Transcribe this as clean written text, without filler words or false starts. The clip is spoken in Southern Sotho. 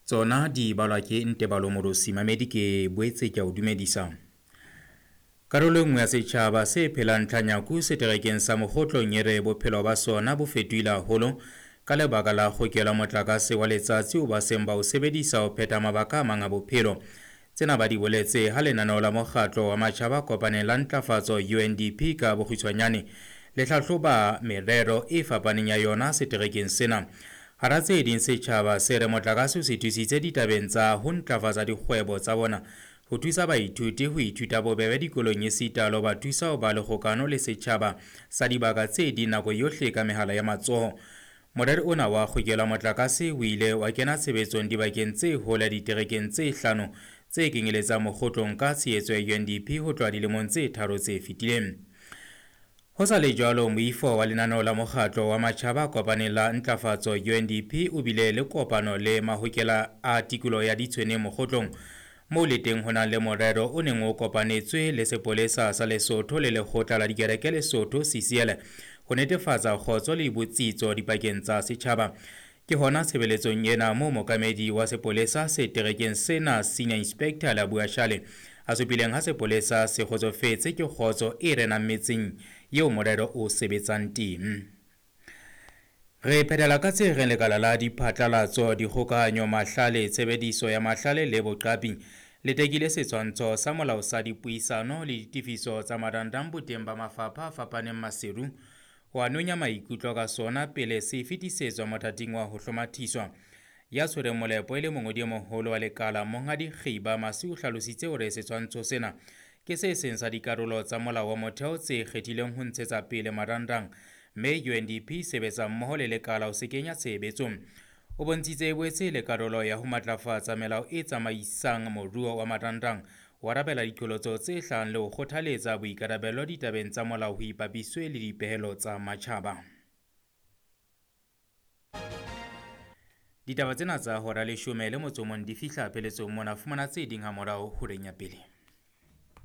Tsona di balwa ke Ntebalo Morosi. Mamedi ke boetse ke a o dumedisa. Karolo e nngwe ya setjhaba se phelang Tlhanyaku seterekeng sa Mokgotlong e re bophelo ba sona bo fetohile haholo ka lebaka la kgokelo ya motlakase wa letsatsi o ba seng ba o sebedisa ho phetha mabaka a mang a bophelo. Tsena ba di boletse ha lenaneo la mokgatlo wa matjhaba a kopaneng la ntlafatso UNDP ka bokgutshwanyane le hlahloba merero e fapaneng ya yona seterekeng sena. Hara tse ding setjhaba se re motlakase o se thusitse ditabeng tsa ho ntlafatsa dikgwebo tsa bona, ho thusa baithuti ho ithuta bobebe dikolong esita le ho ba thusa ho ba le kgokano le setjhaba sa dibaka tse ding nako yohle ka mehala ya matsoho. Morero ona wa kgokelo ya motlakase o ile wa kena tshebetsong dibakeng tse hole diterekeng tse hlano tse kenyeletsang Mokgotlong ka tshehetso ya UNDP ho tloha dilemong tse tharo tse fetileng. Ho sa le jwalo, moifo wa lenaneo la mokgatlo wa matjhaba a kopaneng la ntlafatso UNDP o bile le kopano le mahokela a tikoloho ya Ditshweneng Mokgotlong moo le teng ho nang le morero o neng o kopanetswe le sepolesa sa Lesotho le lekgotla la dikereke Lesotho CCL ho netefatsa kgotso le botsitso dipakeng tsa setjhaba. Ke hona tshebeletsong ena moo mookamedi wa sepolesa seterekeng sena Senior Inspector Labua Shale a supileng ha sepolesa se kgotsofetse ke kgotso e renang metseng eo morero o sebetsang teng. Re phethela ka tse reng lekala la diphatlalatso, dikgokahanyo, mahlale, tshebediso ya mahlale le boqapi le tekile setshwantsho sa molao sa dipuisano le ditefiso tsa marangrang boteng ba mafapha a fapaneng Maseru ho a nonya maikutlo ka sona pele se fetisetswa mothating wa ho hlomathiswa. Ya tshwereng molepo e le mongodi e moholo wa lekala Monghadi Kgiba Masi o hlalositse hore setshwantsho sena ke se seng sa dikarolo tsa molao wa motheo tse kgethileng ho ntshetsa pele marangrang mme UNDP sebetsa mmoho le lekala ho se kenya tshebetsong. O bontshitse e boetse le karolo ya ho matlafatsa melao e tsamaisang moruo wa marangrang, ho arabela diqholotso tse hlahang le ho kgothaletsa boikarabelo ditabeng tsa molao ho ipapiswe le dipehelo tsa matjhaba. Ditaba tsena tsa hora leshome le motso mong di fihla pheletsong mona. Fumana tse ding hamorao horeng ya pele.